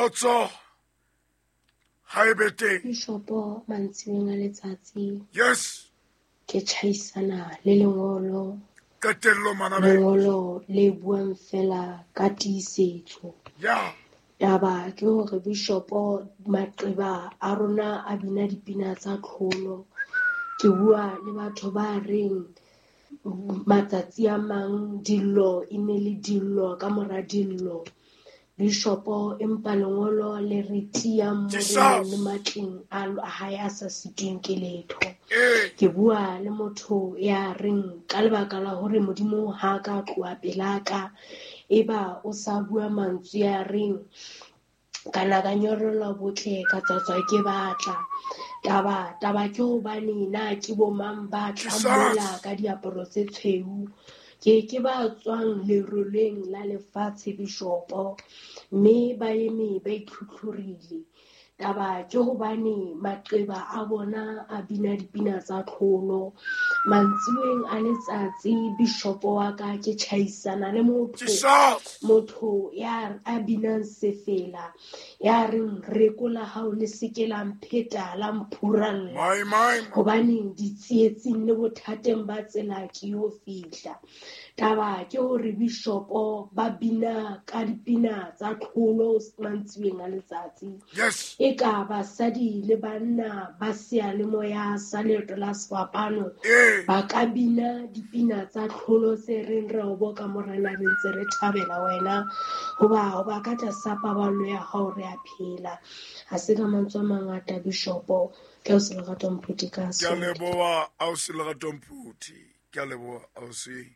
Kgotso ha e be teng. Bishopo mantsiweng a letsatsi. Yes. Ke tjhaisana le lengolo. Qetello manabe. Lengolo le buang fela ka tiisetso. Yeah. Taba ke hore bishopo maqeba a rona a bina dipina tsa tlholo. Ke bua le batho ba reng matsatsi a mang dillo e ne le dillo ka mora dillo. Bishopo empa lengolo le re tiyang moreneng le matleng a hae a sa sitweng ke letho. Ke bua le motho ya reng ka lebaka la hore Modimo ha ka tloha pelaka, eba o sa bua mantswe ya reng ka na ka nyorelwa botle ka tswatswa ke batla. Taba taba ke hobane na ke bo mang ba tlang mola ka diaparo tse tshweu. Ke ke ba tswang leroleng la lefatshe bishopo, mme ba eme ba itlhutlhurile. Taba ke hobane maqeba a bona a bina dipina tsa tlholo. Mantsiweng a letsatsi bishopo wa ka ke tjhaisana le motho, motho ya a binang sefela, ya reng rekola hao le seke la mpheta la mphuralla. Hobane ditsietsing le bothateng ba tsela ke yo fihla. Taba ke hore bishopo ba bina ka dipina tsa tlholo mantsiweng a letsatsi. Yes. E ka basadi le banna ba seyalemoya sa leeto la sefapano ba ka bina dipina tsa tlholo tse reng re o boka morena re ntse re thabela wena, hoba hoba ka tlasa paballo ya hao re a phela. Ha se ka mantswe a mangata bishopo, ke o se lerato Mphuti ka Ke a leboha ausi Lerato Mphuti. Ke a leboha ausi.